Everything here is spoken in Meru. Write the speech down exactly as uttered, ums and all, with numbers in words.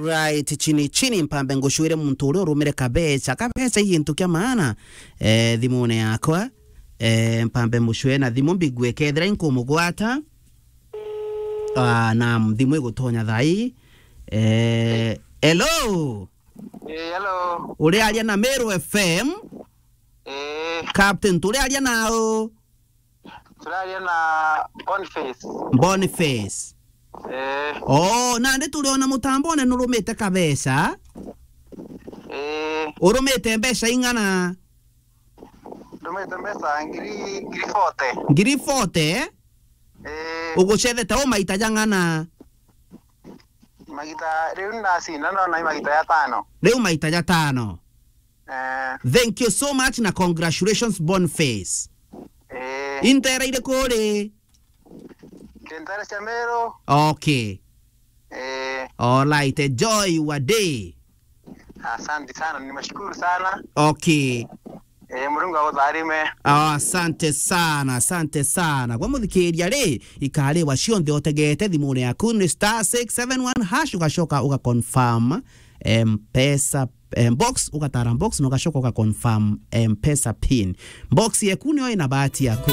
Right, chini chini, mpambe ngucwire muntu uria urumire kabeca. Kabeca i gintu kia maana, eh, thimune yakwa. Eh, mpambe mucwe na thimu mbigue kethira inkumugwata. Ah, na thimu igutonya thai. Eh, hello. Eh, hello. Uriaria na Meru F M. Eh. Captain, turiaria nao? Turaria na Boniface. Boniface. Eh. Oh, nandi turiona mutambone nurumite kabeca. Eh. Urumite mbeca ing'ana? Ndumite mbeca ngiri, ngiri forty. Ngiri forty? Eh. Ugucethete u maita jang'ana? Magita, riu ndacinda ndona i magita jatano. Riu maita jatano. Eh. Thank you so much na congratulations, Boniface. Eh. Intera iriku uri? Kintara cia Meru. Okay. Eh. All right, enjoy your day. Asante sana, nimeshukuru sana. Okay. Eh, Murungu agutharime. Ah, asante sana, asante sana. Gwa muthikiria ri, ikariwa cionthe utegete thimune yaku ni star six seven one hash, ugacoka uga confirm M-Pesa, em, box, ugatara box, na ugacoka uga confirm M-Pesa pin. Box yeku niyo ina bahati yaku.